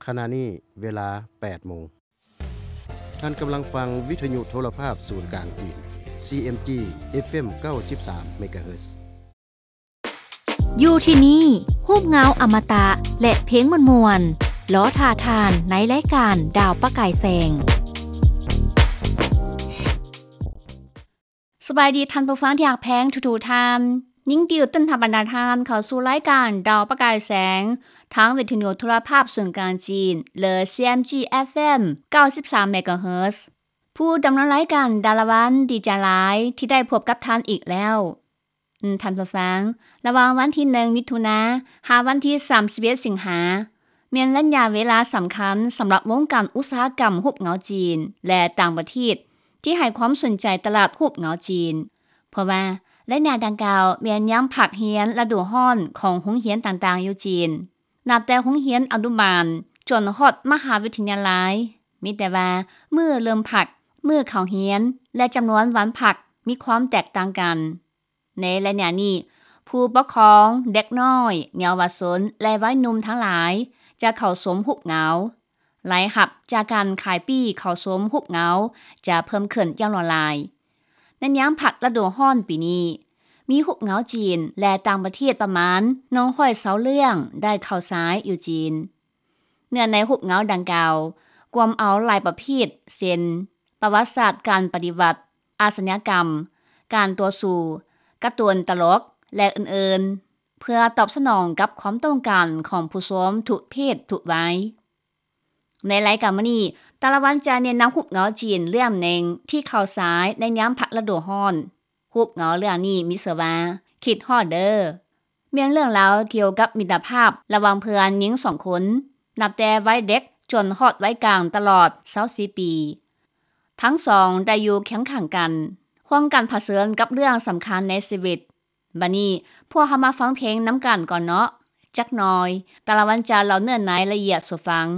ຂະນະນີ້ເວລາແປດໂມງ. ທ່ານກຳລັງຟັງວິທະຍຸໂທລະພາບສູນກາງຈີນ ຊີເອັມຈີ ເອັຟເອັມ ເກົ້າສິບສາມ ເມກາເຮີດ. ຢູ່ທີ່ນີ້ ຮູບເງົາອະມະຕະ ແລະ ເພງມ່ວນໆ ລໍຖ້າທ່ານໃນລາຍການດາວປະກາຍແສງ. ສະບາຍດີທ່ານຜູ້ຟັງທີ່ຮັກແພງທຸກໆທ່ານ. ຍິນດີຕ້ອນຮັບບັນດາທ່ານເຂົ້າສູ່ລາຍການດາວປະກາຍແສງ ທາງວິທະຍຸໂທລະພາບສູນກາງຈີນ ຫຼື ຊີເອັມຈີ ເອັຟເອັມ ເກົ້າສິບສາມ ເມກາເຮີດ. ຜູ້ດຳເນີນລາຍການດາລະວັນ ດີໃຈຫຼາຍທີ່ໄດ້ພົບກັບທ່ານອີກແລ້ວ. ທ່ານຜູ້ຟັງ, ລະຫວ່າງວັນທີໜຶ່ງ ມິຖຸນາ ຫາວັນທີສາມສິບເອັດ ສິງຫາ ແມ່ນໄລຍະເວລາສຳຄັນສຳລັບວົງການອຸດສາຫະກຳຮູບເງົາຈີນ ແລະ ຕ່າງປະເທດ ທີ່ໃຫ້ຄວາມສົນໃຈຕະຫຼາດຮູບເງົາຈີນ, ເພາະວ່າໄລຍະດັ່ງກ່າວແມ່ນຍາມພັກຮຽນລະດູຮ້ອນຂອງໂຮງຮຽນຕ່າງໆຢູ່ຈີນ. ນັບແຕ່ໂຮງຮຽນອະນຸບານຈົນຮອດມະຫາວິທະຍາໄລ, ມີແຕ່ວ່າມື້ເລີ່ມພັກ, ມື້ເຂົ້າຮຽນ ແລະ ຈຳນວນວັນພັກມີຄວາມແຕກຕ່າງກັນ. ໃນໄລຍະນີ້, ຜູ້ປົກຄອງ, ເດັກນ້ອຍ, ເຍົາວະຊົນ ແລະ ໄວໜຸ່ມທັງຫຼາຍຈະເຂົ້າຊົມຮູບເງົາ. ລາຍຮັບຈາກການຂາຍປີ້ເຂົ້າຊົມຮູບເງົາຈະເພີ່ມຂຶ້ນຢ່າງຫຼວງຫຼາຍ. ໃນຍາມພັກລະດູຮ້ອນປີນີ້, ມີຮູບເງົາຈີນ ແລະ ຕ່າງປະເທດປະມານໜຶ່ງຮ້ອຍຊາວເລື່ອງໄດ້ເຂົ້າສາຍຢູ່ຈີນ. ເນື້ອໃນຮູບເງົາດັ່ງກ່າວ ກວມເອົາຫຼາຍປະເພດ ເຊັ່ນ ປະຫວັດສາດການປະຕິວັດ, ອາຊະຍາກຳ, ການຕໍ່ສູ້, ກາຕູນຕະຫຼົກ ແລະ ອື່ນໆ ເພື່ອຕອບສະໜອງກັບຄວາມຕ້ອງການຂອງຜູ້ຊົມທຸກເພດທຸກໄວ. ໃນລາຍການມື້ນີ້, ຕາລະວັນຈະແນະນຳຮູບເງົາຈີນເລື່ອງໜຶ່ງທີ່ເຂົ້າສາຍໃນຍາມພັກລະດູຮ້ອນ. ຮູບເງົາເລື່ອງນີ້ມີຊື່ວ່າ ຄິດຮອດເດີ. ແມ່ນເລື່ອງລາວກ່ຽວກັບມິດຕະພາບລະຫວ່າງເພື່ອນຍິງສອງຄົນ, ນັບແຕ່ໄວເດັກຈົນຮອດໄວກາງຕະຫຼອດຊາວສີ່ປີ. ທັງສອງໄດ້ຢູ່ຄຽງຂ້າງກັນ, ຮ່ວມກັນຜະເຊີນກັບເລື່ອງສຳຄັນໃນຊີວິດ. ບັດນີ້, ພວກເຮົາມາຟັງເພງນຳກັນກ່ອນເນາະ. ຈັກໜ່ອຍ, ຕາລະວັນຈະເລົ່າເນື້ອໃນລະອຽດສູ່ຟັງ.